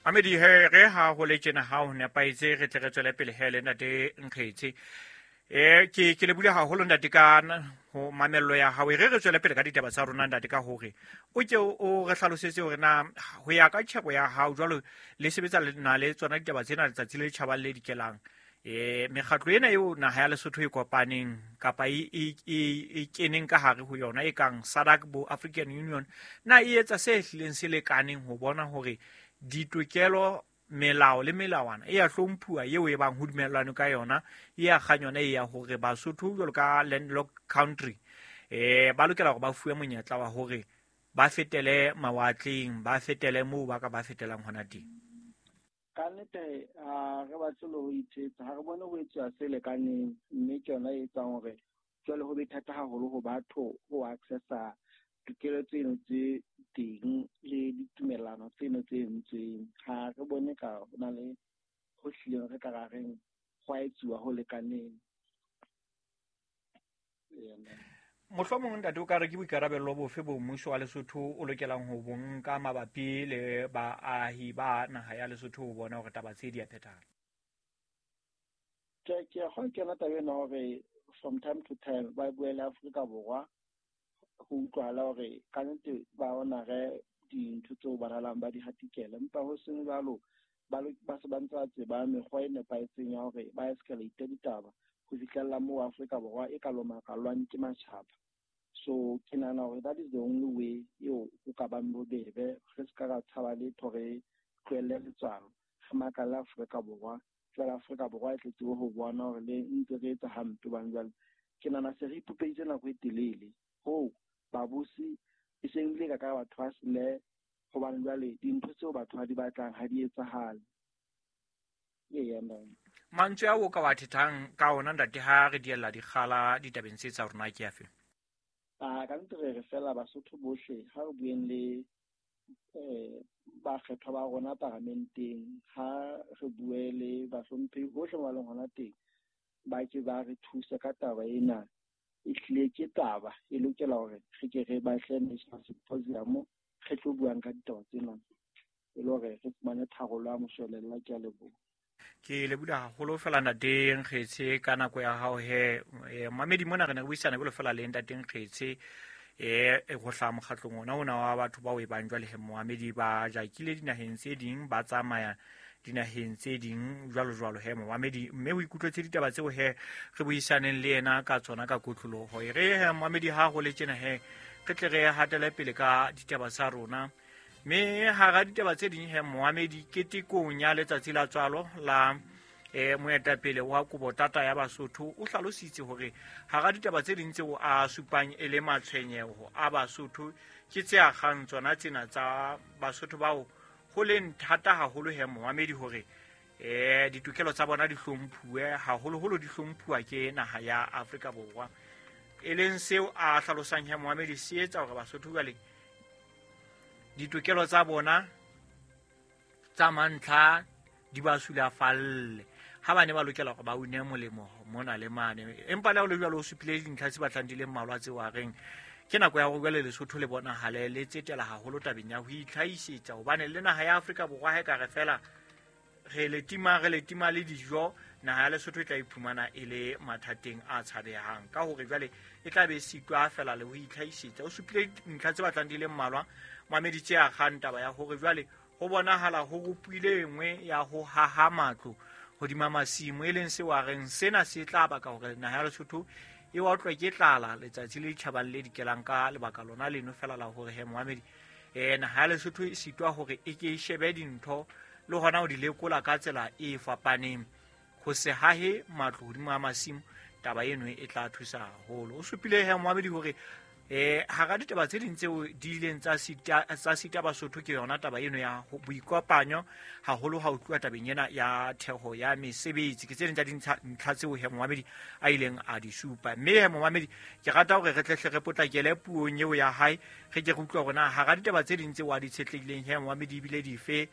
Mamedi he re ha ho le tjena ha ho nepahetse re tle re tswele pele he le ntate Nkgetse. Ke le bule haholo ntate ka ho mamello ya hao. E re re tswele pele ka ditaba tsa rona ntate ka hore o ke o re hlalosetse hore na ho ya ka tjhebo ya hao jwalo le sebetsa na le tsona ditaba tsena letsatsi le tjhabang le dikelang. Mekgatlo ena eo naha ya Lesotho e kopaneng kapa e keneng ka hare ho yona e kang SADC bo African Union, na e etsa se hlileng se lekaneng ho bona hore ditokelo, melao le melawana e ya hlomphuwa eo e bang ho dumellanwe ka yona, e ya kgang yona e ya hore Basotho jwalo ka landlocked country ba lokela hore ba fuwe monyetla wa hore ba fetele mawatleng, ba fetele moo ba ka ba fetelang hona teng? Ka nnete ha re batle le ho ithetsa, ha re bone ho etsuwa se lekaneng, mme ke yona e etsang hore jwale ho be thata haholo ho batho ho accessa tokelo tseno tse teng le ditumellano tseno tse entsweng. Ha re bone ka ho na le ho hlileng re ka ra reng ho a etsuwa ho lekaneng. Mohlomong ntate o ka re ke boikarabello bofe bo mmuso wa Lesotho o lokelang ho bo nka mabapi le baahi ba naha ya Lesotho ho bona hore taba tse di a phethahala? Ke a kgona kena taba ena hore from time to time ba bue le Afrika Borwa ho utlwahala hore ka nnete ba honore dintho tseo ba nalang ba di hatikela, empa ho seng jwalo ba se ba ntse ba tseba mekgwa e nepahetseng ya hore ba escalate ditaba ho fihlella moo Afrika Borwa e ka lomakalwang ke matjhaba. So ke nahana hore that is the only way eo ho ka bang bobebe, re se ka ra tshaba letho, re tlohelle letswalo, re makalle Afrika Borwa. Jwale Afrika Borwa e tle tsebe ho bona hore le ntse re etsa hampe hobane jwale ke nahana se re ipopeditse nako e telele hoo babusi e seng le ka batho ba sele, hobane jwale dintho tseo batho ba di batlang ha di etsahale. Mantswe ao o ka wa thethang ka ona ntate ha re diella dikgala ditabeng tse tsa rona ke afe? Ka nnete re re fela Basotho bohle ha re bueng le bakgethwa ba rona paramenteng, ha re bue le bahlomphehi bohle ba leng hona teng, ba ke ba re thuse ka taba ena. E hlile ke taba e lokela hore re ke re batle national symposium re tlo buang ka ditaba tsena e le hore re fumane tharollo ya moshwelella. Ke a leboha. Ke leboha haholo fela ntate Nkgetse ka nako ya hao he. Mamedi mona re ne re buisana jwalo fela le ntate Nkgetse ho hlaha mokgatlong ona wa batho bao e bang jwale he moamedi ba jakile dinaheng tse ding, ba tsamaya dinaheng tse ding jwalo jwalo he moamedi, mme o ikutlwetse ditaba tseo he re buisaneng le yena ka tsona ka kotloloho. E re he moamedi ha ho le tjena he re tle re hatele pele ka ditaba tsa rona. Mme hara ditaba tse ding he moamedi, ketekong ya letsatsi la tswalo la moetapele wa Kobotata ya Basotho o hlalositse hore hara ditaba tse ding tseo a supang e le matshwenyeho a Basotho ke tse akgang tsona tsena tsa Basotho bao ho leng thata haholo he moamedi hore ditokelo tsa bona di hlomphuwe, haholoholo di hlomphuwa ke naha ya Afrika Borwa, e leng seo a hlalosang he moamedi se etsa hore Basotho jwale ditokelo tsa bona tsa mantlha di ba sulafalle ha ba ne ba lokela hore ba une molemo mona le mane. Empa le ha ho le jwalo o supile dintlha tse batlang di le mmalwa tseo a reng ke nako ya hore jwale Lesotho le bonahale le tsetela haholo tabeng ya ho itlhahisetsa, hobane le naha ya Afrika Borwa ha e ka re fela re le tima le dijo, naha ya Lesotho e tla iphumana e le mathateng a tshabehang ka hore jwale e tla be sitwa fela le ho itlhahisetsa. O supile dintlha tse batlang di le mmalwa mamedi tse akgang taba ya hore jwale ho bonahala ho rupile e nngwe ya ho haha matlo hodima masimo, e leng seo a reng sena se tla baka hore naha ya Lesotho e otlwe ke tlala letsatsi le tjhabang le dikelang ka lebaka lona leno fela la hore he moamedi naha ya Lesotho e sitwa hore e ke e shebe dintho le hona ho di lekola ka tsela e fapaneng. Ho se hahe matlo hodimo a masimo, taba eno e tla thusa haholo. O supile he moamedi hore hara ditaba tse ding tseo di ileng tsa sita Basotho ke yona taba eno ya boikopanyo, haholo ha ho tluwa tabeng ena ya theho ya mesebetsi. Ke tse ding tsa dintlha tseo he moamedi a ileng a di supa. Mme he moamedi ke rata hore re tle hle re potlakele puong eo ya hae, re ke re utlwe hore na hara ditaba tse ding tseo a di tshetlehileng he moamedi ebile dife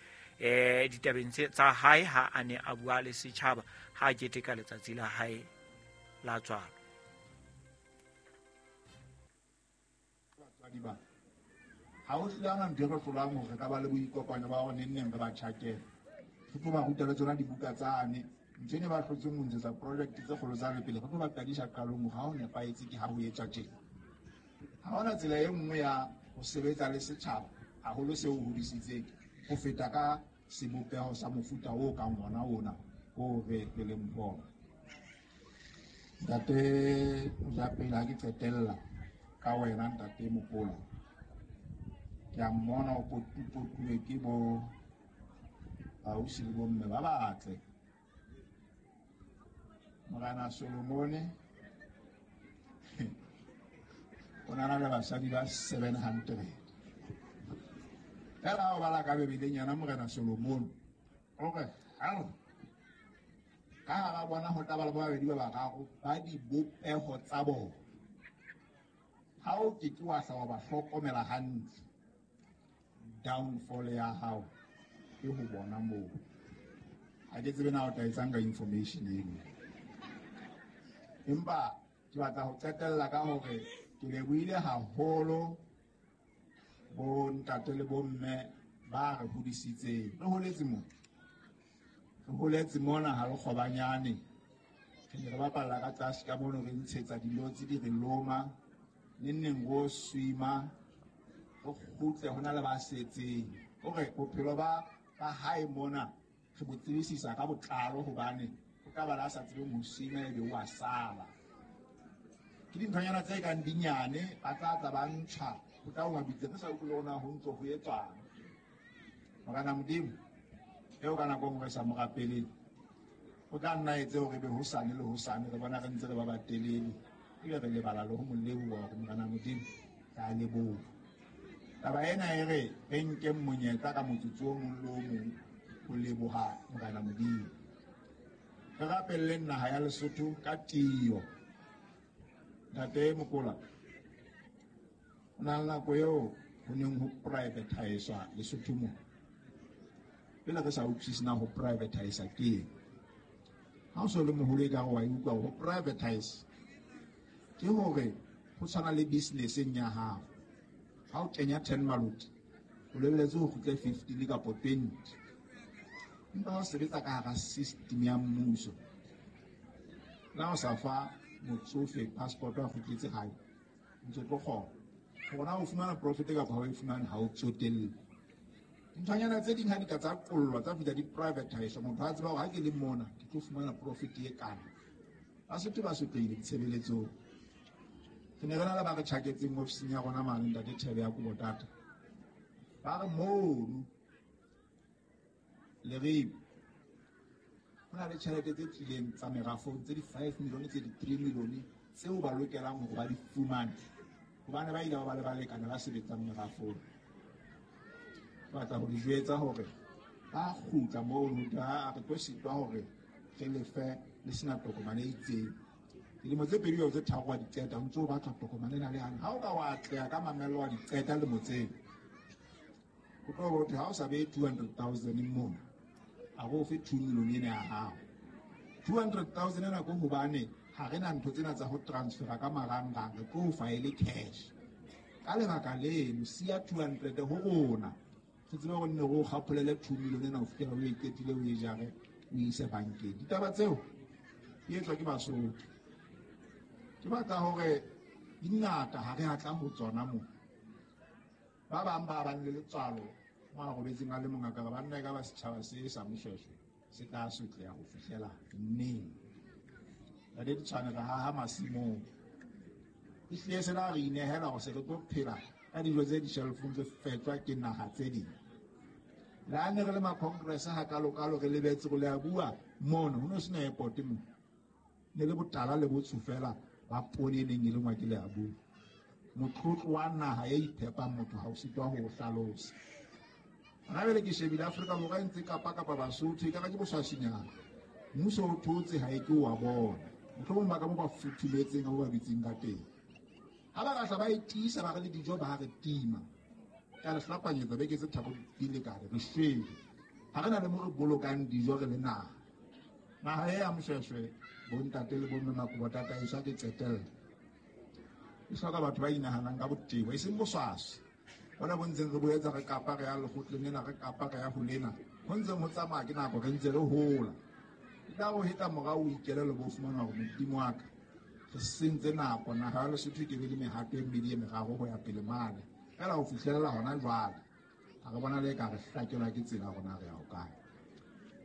ditabeng tsa hae ha a ne a bua le setjhaba ha a keteka letsatsi la hae la tswalo. Ha ho hlile ha hona ntho e re hlolang hore re ka ba le boikopanyo ba hore neng neng re ba tjhakele. Re tlo ba ruta le tsona dibuka tsane. Ntho e ne ba hlotseng ho ntshetsa project tse kgolo tsa le pele, re tlo ba qadisa qalong hore ha ho nepahetse ke ha ho etswa tjena. Ha hona tsela e nngwe ya ho sebetsa le setjhaba haholo seo o hodisitseng ho feta ka sebopeho sa mofuta o kang ona ona o re re leng ho ona. Ntate Mojapele, ha ke qetella ka wena Ntate Mokola, ke a mmona o potupotuwe ke bo ausi le bomme ba batle. Morena Solomone o na le basadi ba 700. Fela ha o bala ka Bibeleng yena Morena Solomone o re, hao, ka hara bona ho tla ba le ba babedi ba bararo ba dibopeho tsa bona. Ha o ke ke wa hla wa ba hlokomela hantle, downfall ya hao ke ho bona moo. Ha ke tsebe na o tla etsang ka information eno. Empa ke batla ho qetella ka hore ke lebohile haholo bo ntate le bomme ba re hodisitseng. Re holetse mona. Re holetse mona ha re kgobanyane. Re ne re bapalla ka tlase ka mono, re ntshetsa dilotse di re loma. Neng neng ro swima, re kgutle ho na le ba setseng. Hore bophelo ba hae mona re bo tsebisisa ka botlalo, hobane o ka ba la sa tsebeng ho swima ebe o a sala. Ke dinthonyana tse kang dinyane, ba tla tla ba ntjha, ho tla o mabitse re sa utlwe le hore na ho ntso ho etswang. Morena Modimo, eo ka nako e nngwe re sa mo rapeleng, o tla nna etse hore ebe hosane le hosane re bona re ntse re ba batelele, ebe re lebala le ho mo leboha hore Morena Modimo re a leboha. Taba ena e re re nkeng monyetla ka motsotso o mong le o mong ho leboha Morena Modimo. Re rapelleng naha ya Lesotho ka tiyo. Ntate Mokola, ho na le nako eo ho neng ho privatizwa Lesotho mona. Pele re sa utlwisise na ho privatize ke eng. Ha o so le moholo ekare wa e utlwa ho privatize ke hore ho tshwana le business-eng ya hao. Ha o kenya 10 maloti, o lebeletse ho kgutle 15 kapa 20. Empa ha o sebetsa ka hara system ya mmuso, na o sa fa motsofe passport a kgutletse hae, ntse tlo kgona. Hore na o fumana profit kapa ha o e fumane, ha o tsotelle. Dinthonyana tse ding ha di ka tsa qollwa, tsa fihla di privatize, motho a tseba hore ha ke le mona ke tlo fumana profit e kana. Basotho ba sotlehile ditshebeletsong. Re ne re na le ba re tjhaketseng ofising ya rona mane, Ntate Thebe ya Kobotata. Ba re mono Leribe ho na le tjhelete tse tlileng tsa merafong tse di 5 million, tse di 3 million tseo ba lokelang hore ba di fumane, hobane ba ile ba ba le balekane ba sebetsang merafong. Ke batla ho le jwetsa hore ba kgutla mono, ha re tlo sitwa hore re lefe le sena tokomane e itseng. Dilemo tse pedi kapa tse tharo wa di qeta, o ntso o batla tokomane ena le yane. Ha o ka wa atleha ka mamello wa di qeta lemo tseo, o tlo bo thwe ha o sa behe 200,000 mona, a re o fe 2 million ena ya hao. 200,000 ena ke hobane ha re na ntho tsena tsa ho transfera ka marangrang, re tlo o fa e le cash. Ka lebaka leno, siya 200 ho rona, re tsebe hore nne re o kgapholele 2 million ena ho fihlela o e qetile, o e jare, o e ise bankeng. Ditaba tseo di etswa ke Basotho. Ke batla hore di ngata ha re a tla ho tsona moo. Ba bang ba bang le letswalo mo a robetseng a le mong a ka re banna e ka ba setjhaba se sa Moshweshwe se tla sotleha ho fihlela neng. Ntate Ditshwane, re haha masimong. Ehlile se la re inehela hore se re tlo phela ka dijo tse di-shelf-ong tse fetjwa ke naha tse ding. Le ha ne re le ma-congress ha kalokalo re lebetse hore le a bua mono, ho no sena airport mo. Ne le botala le botsho fela ba poone e neng e lengwa ke le a bua. Motlotlo wa naha e iphepang motho ha o sitwa ho o hlalosa. Hona jwale ke shebile Afrika Borwa e ntse kapa kapa Basotho, ekare ke boswaswinyana. Mmuso o thotse ha e ke wa bona. Mohlomong ba ka mo ba futhumetseng ka mo ba dutseng ka teng. Ha ba ka hla ba e tiisa, ba re le dijo ba re tima. Ka re hlapanyetsa beke tse tharo di lekane, re shwele. Ha re na le mo re bolokang dijo re le naha. Naha e ya Moshweshwe, bontate le bomme Makobotata e swa ke qetella. E hloka batho ba inahanang ka botebo, e seng boswaswi. Hona bo ntseng re boetsa re kapa re ya lekgotleng lena, re kapa re ya ho lena. Ho ntseng ho tsamaya ke nako re ntse re hola. E tla o hetla morao o ikelello bo fumana hore Modimo wa ka, re sentse nako, naha ya Lesotho e ke be le mehato e mmedi e meraro ho ya pele mane. Feela ho fihlella hona jwale, ha re bona le ka re hlakelwa ke tsela rona re ya ho kae.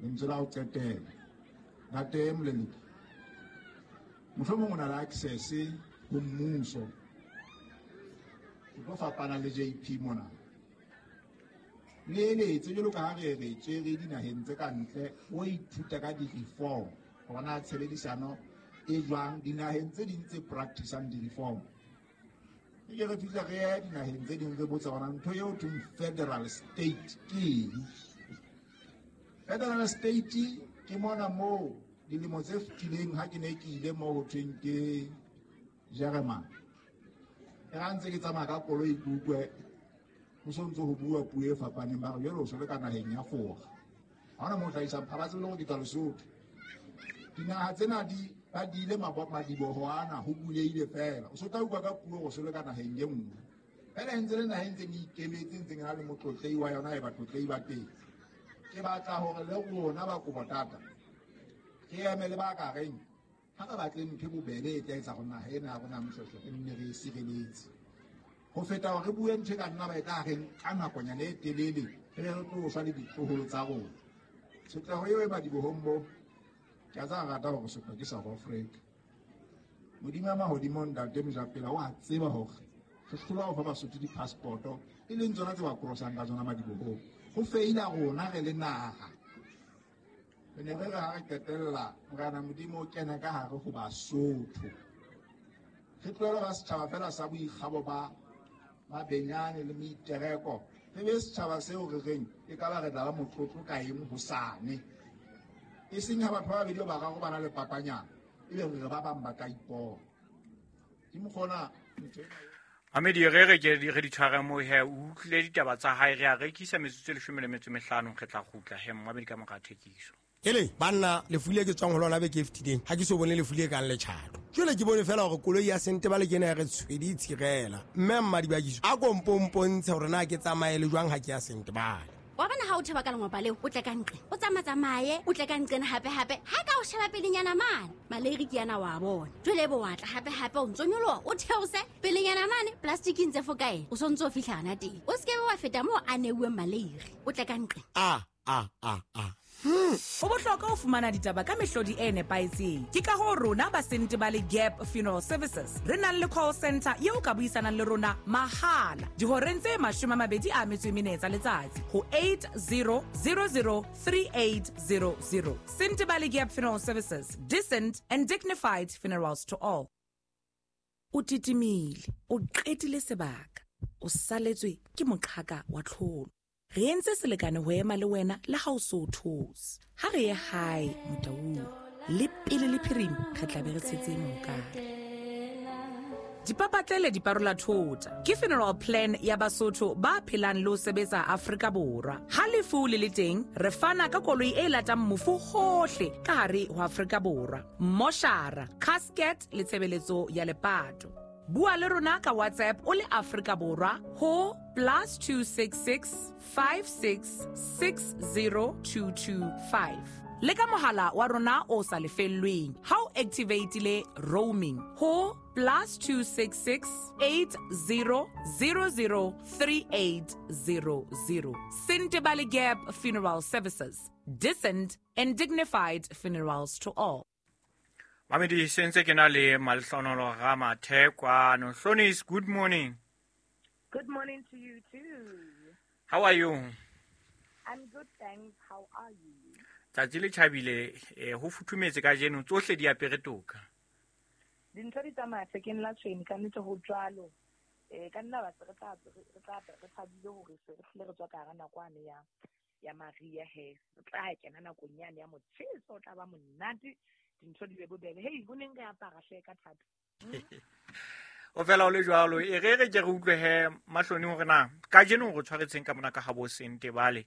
Lentswe la ho qetela, Ntate Moleleki, mohlomong o na le access ho mmuso. Ke tlo fapana le JP mona. Le eletse jwalo ka ha re re tswere dinaheng tse ka ntle, o ithuta ka di-reform, hore na tshebedisano e jwang dinaheng tse ding tse practicang di-reform. E ke re fihla re ye dinaheng tse ding re botsa hore ntho eo thweng federal state ke eng. Federal state ke mona moo dilemo tse fetileng ha ke ne ke ile moo ho thweng ke Jeremane. E ha ntse ke tsamaya ka koloi ke utlwe ho so ntse ho bua puo e fapaneng, ba re jwale o so le ka naheng ya Fora. Ha hona moo hlahisang ha ba tsebe le hore ke tswa Lesotho. Dinaha tsena di ba di ile madiboho ana ho bulehile feela. O so tla utlwa ka puo hore o so le ka naheng e nngwe. Feela e ntse le naha e ntseng e ikemetse, e ntseng e na le motlotlehi wa yona e batlotlehi ba teng. Ke batla hore le rona ba Kobotata re eme le ba ka reng ha re batle ntho e bobebe e tla etsa hore naha ena ya rona Moshoeshoe re nne re e sireletse. Ho feta hore re bue ntho e ka nna ba e tla reng ka nakonyana e telele re be re tlo shwa le ditloholo tsa rona. Tshotleho eo e madibohong bo, ke a tseba rata hore sotlwa ke South Africa. Modimo ya mahodimo Ntate Mojapela o a tseba hore re hlolwa ho fa Basotho di-passport-o e leng tsona tse ba krosang ka tsona madibohong. Ho feila rona re le naha. Re ne re re ha re qetella Morena Modimo o kene ka hare ho Basotho. Re tlohele ba setjhaba feela sa boikgabo ba mabenyane le meitereko. Re be setjhaba seo re reng e ka ba re tla ba motlotlo ka eng hosane. E seng ha batho ba babedi ba bararo ba na le papanyana, ebe re re ba bang ba ka ipona. Ke mokgona ntho ena. Mamedi, re re ke re di tshware moo he, o utlwile ditaba tsa hae, re a rekisa metsotso e 15, re tla kgutla he, Mamedi ka mora thekiso. Ele, banna, lefu le ke tswang ho lona beke e fetileng, ha ke so bone lefu le kang letjhato. Jwale ke bone fela hore koloi ya Sentebale ke ena ya re tshwedi e tshirela. Mme Mmadibakiso, a ko mponpontshe hore na ke tsamaye le jwang ha ke ya Sentebale. Wa bona ha o theba ka lengopa leo, o tle ka nqe, o tsamatsamaye, o tle ka nqena hape-hape, ha ka o sheba pelenyana mane, maleiri ke yana wa bona. Jwale ebe wa tla hape-hape, o ntso nyoloha, o theose pelenyana mane, plastic e ntse fokae, o sontso o fihla hana teng. O se ke be wa feta moo a neuweng maleiri, o tle ka nqe. A, a, a, a. Ho bohlokwa ho fumana ditaba ka mehlodi e nepahetseng. Ke ka hoo rona ba Sentebale Gap Funeral Services re nang le call center eo ka buisanang le rona mahala dihoreng tse 24 tsa letsatsi ho 80003800. Sentebale Gap Funeral Services, decent and dignified funerals to all. O titimile, o qetile sebaka, o saletswe ke moqhaka wa tlholo. Re entse selekane ho ema le wena le ha o so o those. Ha re ye hae Motaung, le pele le phirima re tla be re tshetse mohokare. Dipapatlele di parola thota ke funeral plan ya Basotho ba phelang le ho sebetsa Afrika Borwa. Ha lefu le le teng, re fana ka koloi e latang mofu hohle ka hare ho Afrika Borwa. Moshara, casket le tshebeletso ya lepato. Bua le rona ka WhatsApp o le Afrika Borwa ho +266 56 60225. Le ka mohala wa rona o sa lefellweng ha o activatile roaming ho +266 80003800. Sentebale Gap Funeral Services, decent and dignified funerals to all. Mamedi, se ntse ke na le Malehlohonolo Ramathe kwano. Hlonis, good morning. Good morning to you too. How are you? I'm good, thanks. How are you? Tsatsi le tjhabile, ho futhumetse kajeno, tsohle di apere toka. Dintho di tsamaya thekeng la tshwene, ka nnete ho jwalo. Ka nna ba se re tla, re tla, re thabile hore se re hlile re tswa ka hara nako ane ya mariha he. Re tla kena nakong yane ya motjheso, o tla ba monate, dintho di be bobebe. Hei, ho neng re apara hle ka thata. O fela o le jwalo, e re re ke re utlwe he Mahloni hore na kajeno re tshwaretseng ka mona ka habo Sentebale.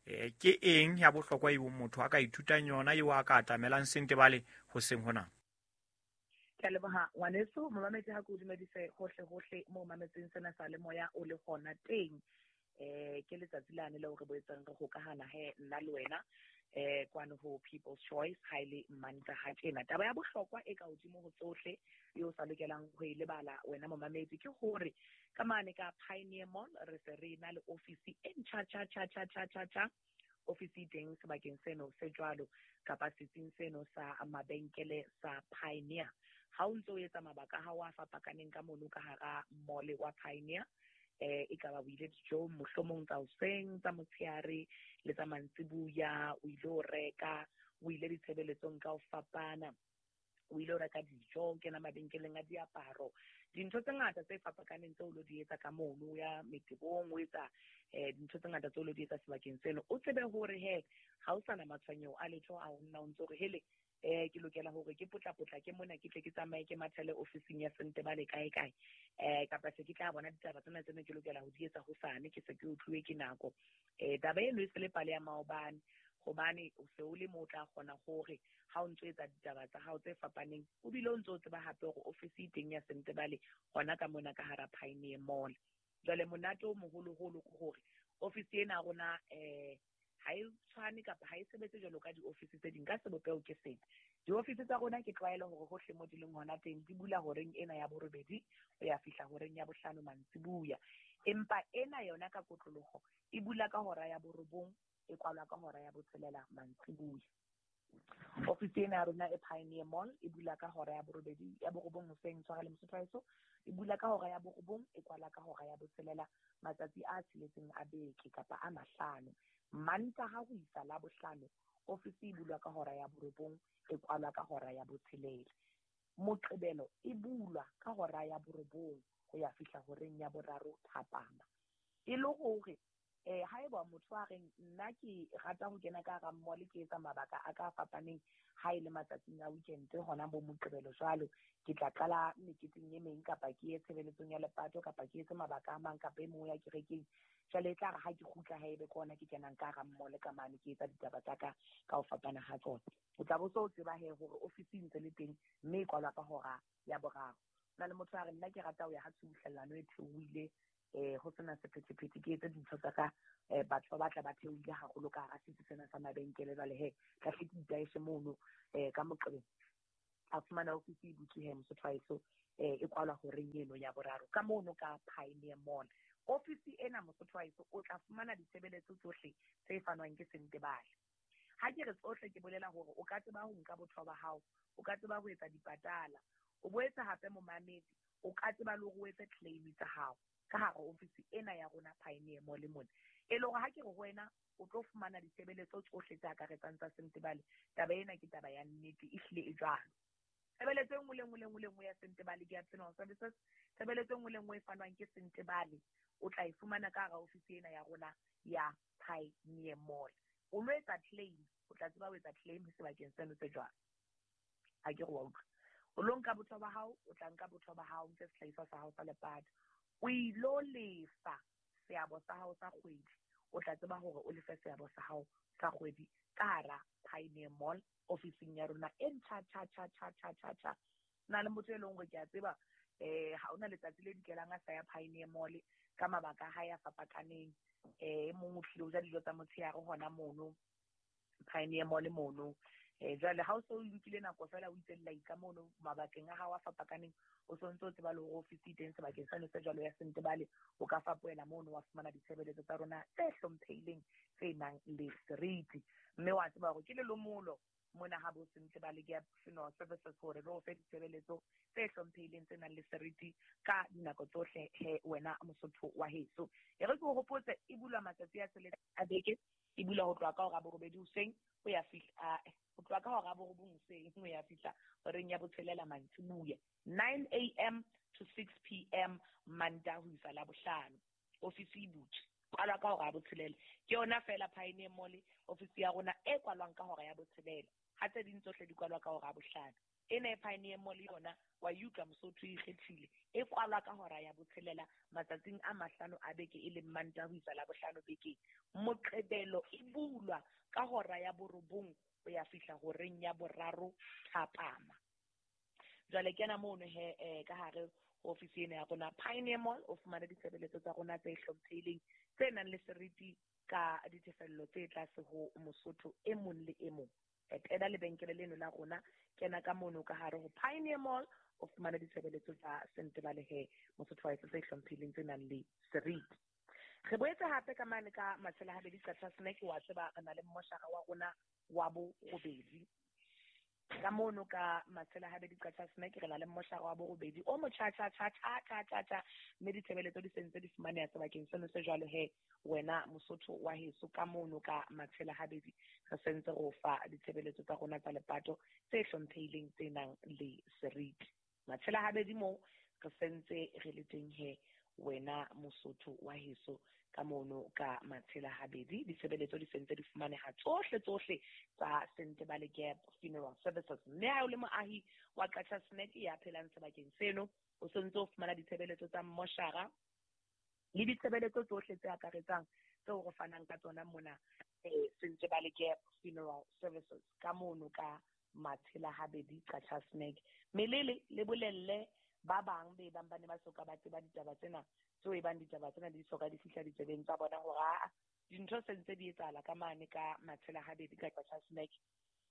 Ke eng ya bohlokwa eo motho a ka ithutang yona eo a ka atamelang Sentebale hoseng hona? Ke a leboha ngwaneso. Momamedi, ha ke o dumedise hohle hohle mo mametseng sena sa le moya o le hona teng. Ke letsatsi lane leo re boetseng re hokahana he nna le wena kwano ho People's Choice ha ile Mantaha tjena. Taba ya bohlokwa e ka hodimo ho tsohle eo o sa lokelang ho e lebala wena momamedi ke hore ka mane ka Pioneer Mall re se re na le ofisi e ntjha tjha tjha tjha tjha tjha tjha. Ofisi e teng sebakeng seno se jwalo kapa setsing seno sa mabenkele sa Pioneer. Ha o ntso o etsa mabaka a hao a fapakaneng ka mono ka hara mall wa Pioneer, e ka ba o ile dijong mohlomong tsa hoseng, tsa motshehare le tsa mantsibuya, o ile ho reka, o ile ditshebeletsong ka ho fapana, o ile ho reka dijo, o kena mabenkeleng a diaparo, dintho tse ngata tse fapakaneng tseo o lo di etsa ka mono, o ya metebong, o etsa dintho tse ngata tseo o lo di etsa sebakeng seno. O tsebe hore he ha o sana matshwenyeho a letho a ho nna o ntso hore hele ke lokela hore ke potlapotla ke mona ke tle ke tsamaye ke mathele ofising ya Sentebale kae kae, kapa se ke tla bona ditaba tsena tseno ke lokela ho di etsa hosane, ke se ke utluwe ke nako. Taba eno e se le pale ya maobane, hobane o se o le mo o tla kgona hore ha o ntso etsa ditaba tsa hao tse fapaneng, o bile o ntso o tseba hape hore ofisi e teng ya Sentebale hona ka mona ka hara Pioneer Mall. Jwale monate o moholoholo ke hore ofisi ena ya rona ha e tshwane kapa ha e sebetse jwalo ka diofisi tse ding ka sebopeho ke sena. Diofisi tsa rona ke tlwaelo hore hohle mo di leng hona teng di bula horeng ena ya borobedi ho ya fihla horeng ya bohlano mantsibuya. Empa ena yona ka kotloloho e bula ka hora ya borobong, e kwalwa ka hora ya botshelela mantsibuya. Ofisi ena ya rona e Pioneer Mall e bula ka hora ya borobedi ya borobong hoseng, tshwara le Mosotho haeso, e bula ka hora ya borobong, e kwala ka hora ya botshelela matsatsi a tsheletseng a beke kapa a mahlano. Mantaha ho isa la bohlano ofisi e bulwa ka hora ya borobong, e kwalwa ka hora ya botshelela. Moqebelo e bulwa ka hora ya borobong ho ya fihla horeng ya boraro thapama. E le hore haeba motho a reng nna ke rata ho kena ka hara mall ke etsa mabaka a ka fapaneng ha e le matsatsing a weekend hona bo Moqebelo jwalo, ke tla qala meketeng e meng kapa ke ye tshebeletsong ya lepato kapa ke etse mabaka a mang kapa e mong ya kerekeng. Jwale e tla re ha ke kgutla haebe ke hona ke kenang ka hara mall ka mane ke etsa ditaba tsa ka ka ho fapana ha tsona. O tla bo so o tseba he hore ofisi e ntse le teng mme e kwalwa ka hora ya boraro. Na le motho a re nna ke rata ho ya ha tshubuhlellano e theohile, ho sena sephethephethe, ke etse dintho tsa ka, batho ba batla ba theohile haholo ka hara setsi sena sa mabenkele. Jwale he tla hle ke itaeshe mono ka Moqebelo. A fumana ofisi e butswe he Mosotho haeso, e kwalwa horeng eno ya boraro ka mono ka Pioneer Mall. Ofisi ena Mosotho haeso o tla fumana ditshebeletso tsohle tse fanwang ke Sentebale. Ha ke re tsohle ke bolela hore o ka tseba ho nka botho ba hao, o ka tseba ho etsa dipatala, o boetse hape momamedi o ka tseba le hore o etse claim tsa hao ka hara ofisi ena ya rona Pioneer Mall mona. E le hore ha ke re ho wena o tlo fumana ditshebeletso tsohle tse akaretsang tsa Sentebale, taba ena ke taba ya nnete, ehlile e jwalo. Tshebeletso e nngwe le nngwe le nngwe le nngwe ya Sentebale ke ya Funeral Services. Tshebeletso e nngwe le nngwe e fanwang ke Sentebale o tla e fumana ka hara ofisi ena ya rona ya Pioneer Mall. O lo etsa claim, o tla tseba ho etsa claim sebakeng seno se jwalo. Ha ke re wa utlwa. O lo nka botho ba hao, o tla nka botho ba hao, nke sehlahiswa sa hao sa lepato. O ilo lefa seabo sa hao sa kgwedi, o tla tseba hore o lefe seabo sa hao sa kgwedi ka hara Pioneer Mall ofising ya rona e ntjha tjha tjha tjha tjha tjha tjha. Na le motho e leng hore ke a tseba ha ona letsatsi le dikelang a sa ya Pioneer Mall ka mabaka a hae a fapakaneng. E mong o tlile ho ja dijo tsa motshehare hona mono Pioneer Mall mono. Jwale ha o so o nkile nako fela o itse lla mono mabakeng a hao a fapakaneng, o so ntso o tseba le hore ofisi e teng sebakeng seno se jwalo ya Sentebale, o ka fapohela mono wa fumana ditshebeletso tsa rona tse hlomphehileng tse nang le seriti. Mme wa tseba hore ke lelomolo mona ha bo Sentebale ke ya Funeral Services hore re o fe ditshebeletso tse hlomphehileng tse nang le seriti ka dinako tsohle he wena Mosotho wa heso. E re ke o hopotse e bulwa matsatsi a tsheletseng a beke, e bulwa ho tloha ka hora ya borobedi hoseng ho ya fihla ho tloha ka hora ya borobong hoseng ho ya fihla horeng ya botshelela mantsibuya, 9 a.m. to 6 p.m. Mantaha ho isa Labohlano. Ofisi e butswe, kwalwa ka hora ya botshelela. Ke yona fela Pioneer Mall ofisi ya rona e kwalwang ka hora ya botshelela. Ha tse ding tsohle di kwalwa ka hora ya bohlano. Ena e Pioneer Mall yona wa utlwa Mosotho e ikgethile, e kwalwa ka hora ya botshelela matsatsing a mahlano a beke e leng Mantaha ho isa Labohlano bekeng. Moqebelo e bulwa ka hora ya borobong ho ya fihla horeng ya boraro thapama. Jwale kena mono he ka hare ho ofisi ena ya rona Pioneer Mall, o fumane ditshebeletso tsa rona tse hlomphehileng tse nang le seriti ka ditefello tse tlase ho Mosotho e mong le e mong. Etela lebenkele leno la rona, kena ka mono ka hare ho Pioneer Mall, o fumane ditshebeletso tsa Sentebale he Mosotho wa heso tse hlomphehileng tse nang le seriti. Re boetse hape ka mane ka Matshela Habedi Qacha's Nek, wa tseba re na le mmoshara wa rona wa borobedi. Ka mono ka Matshela Habedi Qacha's Nek re na le mmoshara wa borobedi o motjha tjha tjha tjha tjha tjha tjha, mme ditshebeletso di sentse di fumaneha sebakeng seno se jwalo he wena Mosotho wa heso ka mono ka Matshela Habedi re sentse re o fa ditshebeletso tsa rona tsa lepato tse hlomphehileng tse nang le seriti. Matshela Habedi moo re sentse re le teng he wena Mosotho wa heso ka mono ka Matshela Habedi ditshebeletso di sentse di fumaneha tsohle tsohle tsa Sentebale Gap Funeral Services. Mme ha o le moahi wa Qacha's Nek ya phelang sebakeng seno, o sentse o fumana ditshebeletso tsa mmoshara le ditshebeletso tsohle tse akaretsang tseo re fanang ka tsona mona Sentebale Gap Funeral Services ka mono ka Matshela Habedi Qacha's Nek. Melele le bolelle ba bang be bang ba ne ba soka ba tseba ditaba tsena, tseo e bang ditaba tsena di soka di fihla ditsebeng tsa bona hore aa dintho sentse di etsahala ka mane ka Matshela Habedi ka Qacha's Nek.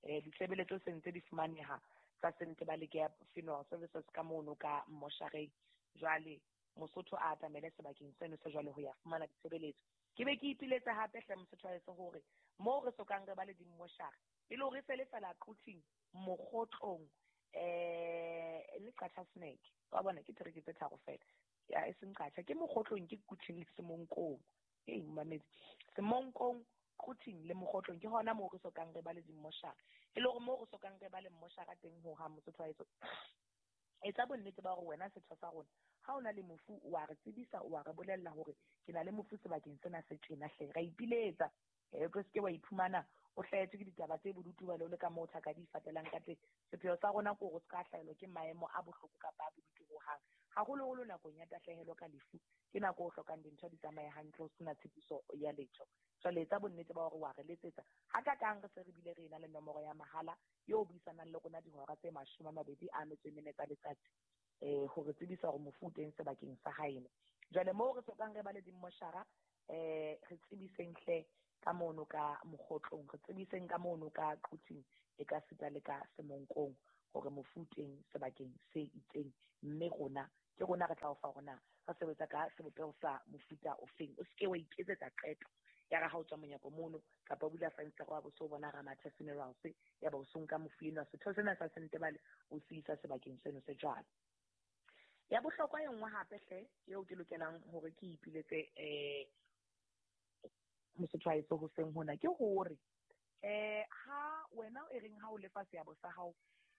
Ditshebeletso sentse di fumaneha tsa Sentebale Gap Funeral Services ka mono ka mmoshareng. Jwale Mosotho a atamele sebakeng seno se jwale ho ya fumana ditshebeletso. Ke be ke ipiletsa hape hle Mosotho wa heso hore moo re sokang re ba le dimmoshara e le hore se le fela Quthing, Mokgotlong, le Qacha's Nek. Wa bona ke tereke tse tharo fela. Ya e seng Qacha, ke Mokgotlong, ke Quthing le Semonkong. Ei mamedi, Semonkong, Quthing le Mokgotlong ke hona moo re sokang re ba le dimmoshara. E le hore moo re sokang re ba le mmoshara teng ho ha Mosotho wa heso. Etsa bonnete ba hore wena setho sa rona ha o na le mofu wa re tsebisa, wa re bolella hore ke na le mofu sebakeng sena se tjena hle. Ra ipiletsa, o tlo seke wa iphumana o hlahetswe ke ditaba tse bodutu ba le ka moo thaka di fatelang ka teng. Sepheo sa rona ke hore o ska hlahelwa ke maemo a bohloko kapa a bodutu hohang, haholoholo nakong ya tahlehelo ka lefu. Ke nako o hlokang dintho di tsamaye hantle, o sena tshepiso ya letho. Jwale etsa bonnete ba hore wa re letsetsa. Ha ka kang re se re bile re ena le nomoro ya mahala eo buisanang le rona dihora tse 24 tsa letsatsi, hore tsebisa hore mofu o teng sebakeng sa haeno. Jwale moo re sokang re ba le dimmoshara, re tsebiseng hle ka mono ka Mokgotlong, re tsebiseng ka mono ka Quthing, e ka sita le ka Semonkong hore mofu o teng sebakeng se itseng, mme rona ke rona re tla o fa rona re sebetsa ka sebopeho sa mofuta ofeng. O seke wa iketsetsa qeto ya re ha o tswa monyako mono kapa o bula fensetere wa bo so bona Ramathe Funerals ya ba o so nka mofu enwa setho sena sa Sentebale o se isa sebakeng seno se jwalo. Ya bohlokwa e nngwe hape hle eo ke lokelang hore ke ipiletse Mosotho wa heso hoseng hona ke hore ha wena e reng ha o lefa seabo sa hao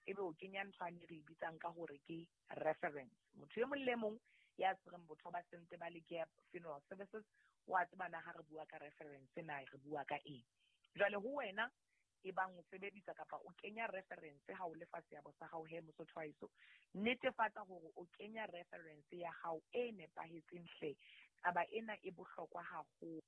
ebe o kenya ntho ane re e bitsang ka hore ke reference. Motho e mong le mong ya tshwereng botho ba Sentebale Gap Funeral Services wa tseba na ha re bua ka reference na re bua ka eng. Jwale ho wena e bang o sebedisa kapa o kenya reference ha o lefa seabo sa hao he Mosotho wa heso, netefatsa hore o kenya reference ya hao e nepahetseng hle. Taba ena e bohlokwa haholo,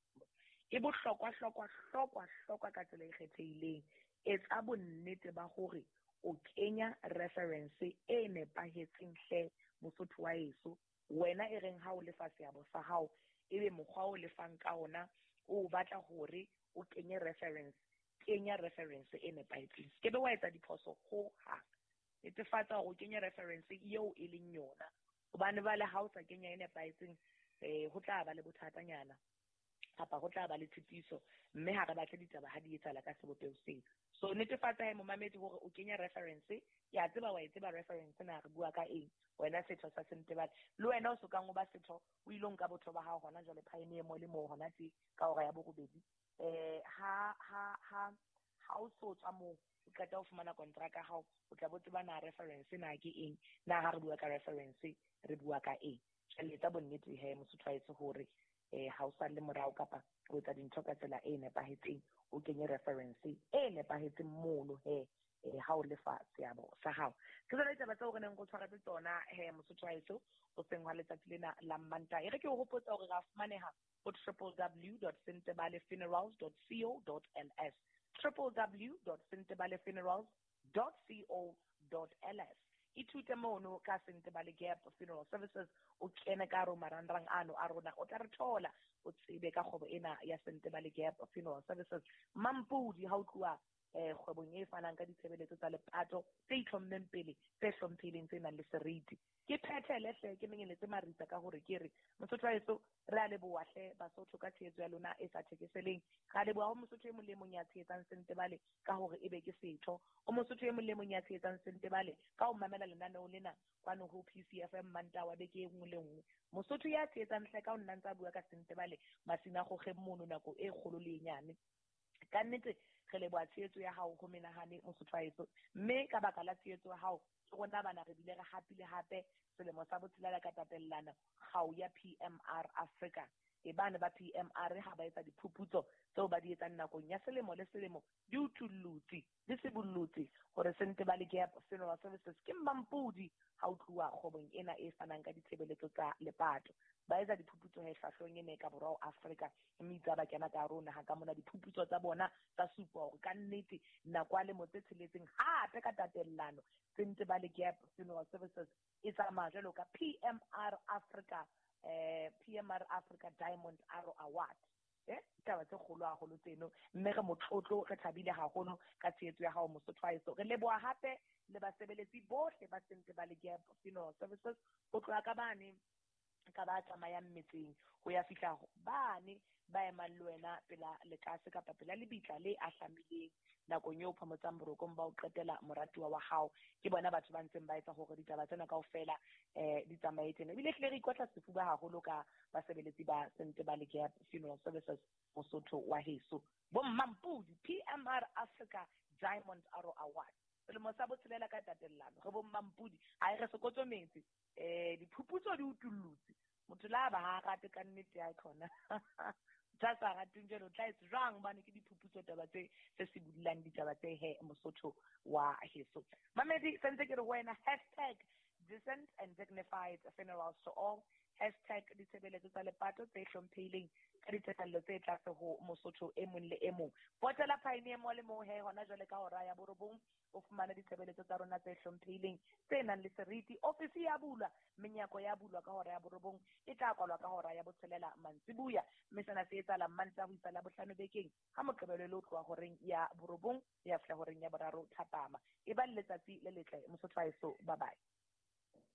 e bohlokwa hlokwa hlokwa hlokwa ka tsela e kgethehileng. Etsa bonnete ba hore o kenya reference e nepahetseng hle Mosotho wa heso. Wena e reng ha o lefa seabo sa hao ebe mokgwa o lefang ka ona o batla hore o kenye reference, kenya reference e nepahetseng. Se ke be wa etsa diphoso ho hang. Netefatsa hore o kenye reference eo e leng yona, hobane bale ha o sa kenya e nepahetseng ho tla ba le bothatanyana kapa ho tla ba le tshitiso, mme ha re batle ditaba ha di etsahala ka sebopeho seo. So netefatsa he momamedi hore o kenya reference. Ya tseba wa e tseba reference na re bua ka eng wena setho sa Sentebale. Le wena o sokang o ba setho o ilo nka botho ba hao hona jwale Pioneer Mall moo hona tje ka hora ya borobedi. Ha o so tswa moo o qeta ho fumana kontraka ya hao, o tla bo tseba na reference na ke eng, na ha re bua ka reference re bua ka eng. Jwale etsa bonnete he Mosotho wa heso hore ha o sa le morao kapa o etsa dintho ka tsela e nepahetseng, o kenye reference e nepahetseng mono he ha o lefa seabo sa hao. Ke tsona ditaba tseo re neng re tshwaretse tsona he Mosotho wa heso hoseng hwa letsatsi lena la Mantaha. E re ke o hopotsa hore ra fumaneha ho www.sentebalefunerals.co.ls, www.sentebalefunerals.co.ls. Ithute mono ka Sentebale Gap Funeral Services, o kene ka hare ho marangrang ano a rona, o tla re thola, o tsebe ka kgwebo ena ya Sentebale Gap Funeral Services. Mampudi ha o tluwa kgwebong e fanang ka ditshebeletso tsa lepato tse itlhommeng pele, tse hlomphehileng, tse nang le seriti. Ke phethele hle, ke menyeletse maritsa ka hore ke re Mosotho wa heso, re a leboha hle Basotho ka tshehetso ya lona e sa thekeseleng. Re a leboha ho Mosotho e mong le e mong ya tshehetsang Sentebale ka hore ebe ke setho. O Mosotho e mong le e mong ya tshehetsang Sentebale ka ho mamela lenaneo lena kwano ho PCFM Mantaha wa beke e nngwe le nngwe. Mosotho ya tshehetsang hle ka ho nna ntse a bua ka Sentebale masinagogeng mono nako e kgolo le e nyane. Ka nnete re leboha tshehetso ya hao ho menahane Mosotho wa heso, mme ka baka la tshehetso ya hao ke rona bana re bile re hapile hape selemo sa botshelela ka tatellano kgau ya PMR Africa. E bane ba PMR ha ba etsa diphuputso tseo ba di etsang nakong ya selemo le selemo, di utullotse, di sibollotse hore Sentebale Gap Funeral Services ke mmampodi ha o tluwa kgwebong ena e fanang ka ditshebeletso tsa lepato. Ba etsa diphuputso he hlahlong ena e ka borwa ho Afrika, mme itse ha ba kena ka hare ho naha ka mona, diphuputso tsa bona tsa supa hore ka nnete nako ya lemo tse tsheletseng hape ka tatellano Sentebale Gap Funeral Services e tsamaya jwalo ka PMR Africa, PMR Africa Diamond Arrow Award. Ditaba tse kgolo haholo tseno, mme re motlotlo, re thabile haholo ka tshehetso ya hao Mosotho wa heso. Re leboha hape le basebeletsi bohle ba Sentebale Gap Funeral Services, ho tloha ka bane ka ba tsamayang metseng ho ya fihla bane ba emang le wena pela lekase kapa pela lebitla le ahlamileng nakong eo phomotsang borokong ba o qetela moratuwa wa hao. Ke bona batho ba ntseng ba etsa hore ditaba tsena kaofela di tsamaye tjena. Ebile hlile re ikotla sefuba haholo ka basebeletsi ba Sentebale Gap Funeral Services Mosotho wa heso. Bo Mmampudi PMR Africa Diamond Arrow Award, selemo sa botshelela ka tatellano. Re bo Mmampudi, ha e re sekotso metsi. Diphuputso di utullotse motho la ba ha rate ka nnete ya khona. Tsa sa rateng jwalo, o tla etsa jwang hobane ke diphuputso taba tse tse sibollang ditaba tse he Mosotho wa heso. Mamedi, sentse ke re ho wena hashtag decent and dignified funerals to all, hashtag ditshebeletso tsa lepato tse hlomphehileng ka ditefello tse tlase ho Mosotho e mong le e mong. Potela Pioneer Mall moo he hona jwale ka hora ya borobong o fumane ditshebeletso tsa rona tse hlomphehileng tse nang le seriti. Ofisi ya bulwa, menyako ya bulwa ka hora ya borobong, e tla kwalwa ka hora ya botshelela mantsibuya, mme sena se etsahala Mantaha ho isa Labohlano bekeng ha Moqebelo le ho tloha horeng ya borobong ho ya fihla horeng ya boraro thapama. E ba le letsatsi le letle Mosotho wa heso. Bye bye.